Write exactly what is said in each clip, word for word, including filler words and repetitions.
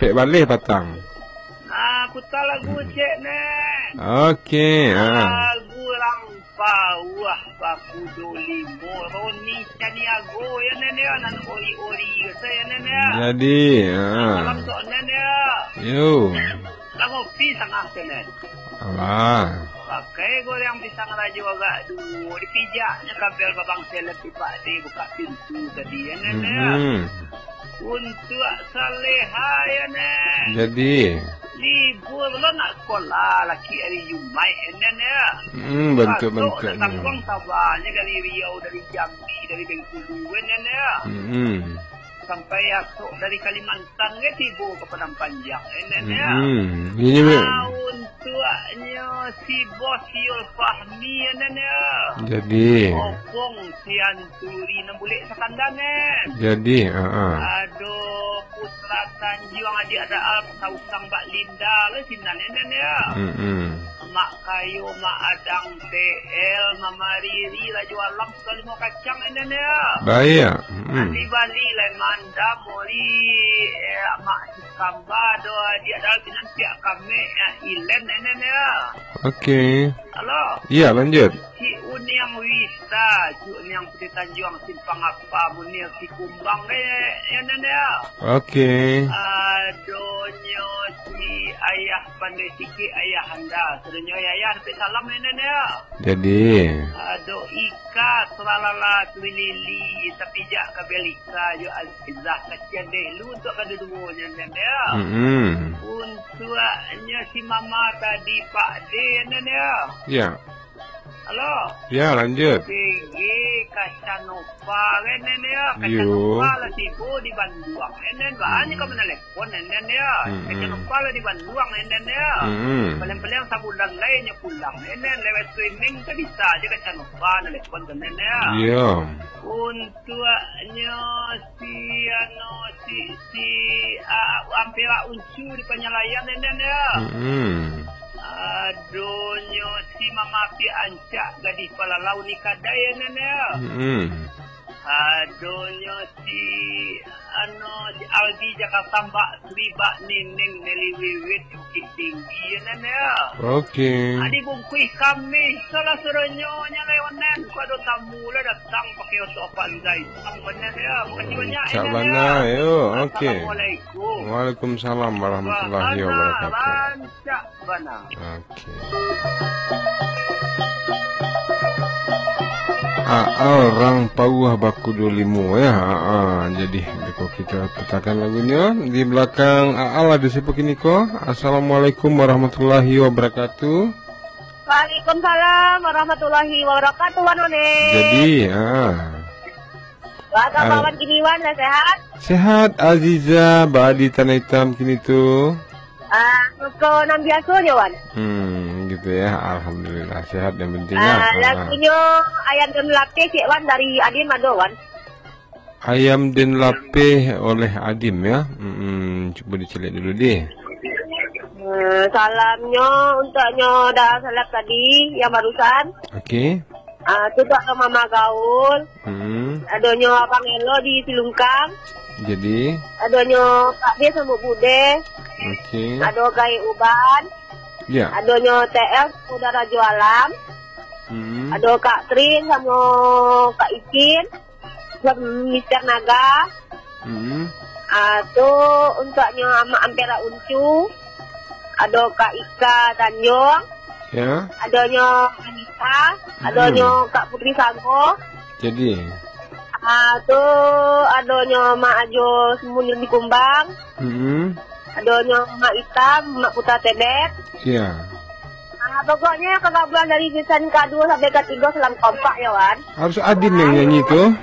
Cek baleh patang. Ah, puta lagu cek, Nen. Oke, ah. Lagu Rang Pauah Bakudo Limo, Roni Caniago, ya, Nen, ya, nan ori-ori, kata, ya, Nen, ya. Jadi, ah. Malam tu, Nen, ya. Yo. Lah ngopi sangah tu, Nen. Alah. Pakai goreng pisang rajo agak duo, dipijaknyo kabel babang selep di Pak De buka pintu tadi, ya, Nen, ya. Mm-mm. Untuak Saleha, ya, Nen. Jadi. Libur lo nak sekolah, laki hari Jumaik, ya, Nen, ya. Mm, bantuak-bantuaknyo. Patut datang uang sabanyo dari Riau, dari Jambi, dari Bengkulu, ya, Nen, ya. Mm-mm. Sampai asok dari Kalimantan. Tan ge tibo ka Padang Panjang, Nen, ya. Mm-mm. Ini me- Ah, untuaknyo si Bos Yul Fahmi, Nen, ya. Jadi. Opong Sianturi nan bulek sakanda, Nen. Jadi, ha, ha. Ado Putra Tanjuang, Adik Ada Al, Sausang Bak Linda, lo sinan, Nen, ya. Mm-mm. Mak Kayo, Mak Adang, T L, Mama Riri, Rajo Alam, Suka Limo Kacang, Nen, ya. Baiak. Mm-mm. Andi Bali, Lai Mandam, Mori, eh, Mak Kamba, do, Adik Adal, Pinang, Piak Kamek, eh, Ilen, Nen, ya. Oke. Halo. Iya, lanjut. Cik Uniang Wista, Cik Uniang Putih Tanjuang, Simpang Apa, Munir Sikumbang, eh, ya, Nen, ya. Oke. Adonyo si Ayah Pandai Sikik, Ayah Anda. Sadonyo Ayah, Ayah, dapat salam, Nen, ya. Jadi. Ado Ika, Sulalala, Tuilili, Tapijak, Kabelika, jo Azizah, kasian deh lu untuak kaduduonyo, Nen, ya. Mm-mm. Untuaknyo si Mama tadi, Pak De, Nen, ya. Ya. Halo. Ya, lanjut. P G Kacanova, kan, Nen, ya. Yo. Kacanova lah tibo di Banduang, Nen, Nen. Banyak ka manalepon, Nen, Nen, ya. Mm-mm. Kacanova lah di Banduang, Nen, Nen, ya. Mm-mm. Paling-paling sabulan lai nyo pulang, Nen, Nen. Lewat streaming tu bisa aja Kacanova nalepon tu, Nen, ya. Iya. Untuaknyo si, anu, si, si, ah, Ampera Uncu di Panyalayan, Nen, Nen, ya. Mm-mm. Adonyo si Mama Api Ancak, Gadih Palalau ni kadai, Nen, Nen, ya. Mm-mm. Adonyo si, anu, si Aldi Jakarta, Mbak Sri, Mbak Nining, Nelly Wiwit, Bukittinggi, Nen, ya. Oke. Adi bungkuih kami, salah suruhnyo nya lai, Nen. Ku ado tamu lah datang pakai oto Avanza itam, Nen, ya. Makasih banyak, Nen, ya. Cak bana, yo. Oke. Assalamualaikum. Waalaikumsalam warahmatullahi wabarakatuh. Rancak bana. Oke. Aal Rang Pauah Bakudo Limo, ya. Ha, ha. Jadi, beko kita putakan lagunyo. Di belakang Aal ado siapa kini ko? Assalamualaikum warahmatullahi wabarakatuh. Waalaikumsalam warahmatullahi wabarakatuh, Wan One. Jadi, ha. Apa kabar, Wan, kini, Wan? Lah sehat? Sehat, Aziza, baa di Tanah Itam kini tu? Ah, ko nan biasonyo, Wan. Hmm, gitu ya. Alhamdulillah, sehat yang penting, ya. Ah, lagunyo Ayam dan Lapeh, cek, Wan, dari Adim ado, Wan. Ayam dan Lapeh oleh Adim, ya. Hmm, cuba dicaliak dulu deh. Hmm, salamnyo untuaknyo dah salam tadi yang barusan. Oke. Ah, tu tu ado Mama Gaul. Hmm. Adonyo Abang Elo di Silungkang. Jadi. Adonyo Pak De Sambuik Bude. Oke. Ado Gai Uban. Ya. Adonyo T L Saudara Jualam. Hmm. Ado Kak Trin samo Kak Icin. Mister Naga. Hmm. Ah, tu untuaknyo Amak Ampera Uncu. Ado Kak Ika Tanjung. Ya. Adonyo Anita, hmm, adonyo Kak Putri Sago. Jadi. Ah, tu adonyo Mak Ajo Semunir di Kumbang. Hmm. Adonyo Mak Itam, Mak Puta Tebet. Ya. Ah, pokoknyo kagabungan dari season kadua sampai katigo salam kompak ya, Wan. Harus Adin yang nyanyi tu.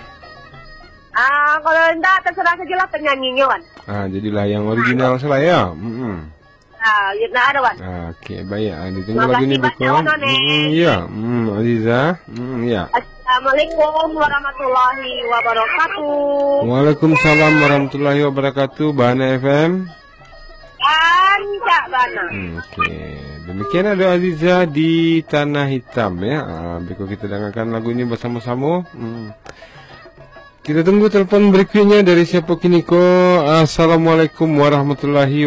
Ah, kalau indak, terserah sajalah penyanyinyo, Wan. Ah, jadilah yang original salah ya. Hmm. Ah, ya, nak ada, Wan. Ah, oke, baik. Ah, ditunggu lagu ni, Beko. Makasih banyak, Wan One. Hmm, ya. Hmm, Aziza. Hmm, ya. Assalamualaikum warahmatullahi wabarakatuh. Waalaikumsalam warahmatullahi wabarakatuh. Bahana F M. Rancak bana. Hmm, oke. Demikian ado Aziza di Tanah Itam, ya. Ah, beko kita dangakan lagu ni basamo-samo. Hmm. Kita tunggu telepon berikutnya dari siapa kini ko. Assalamualaikum warahmatullahi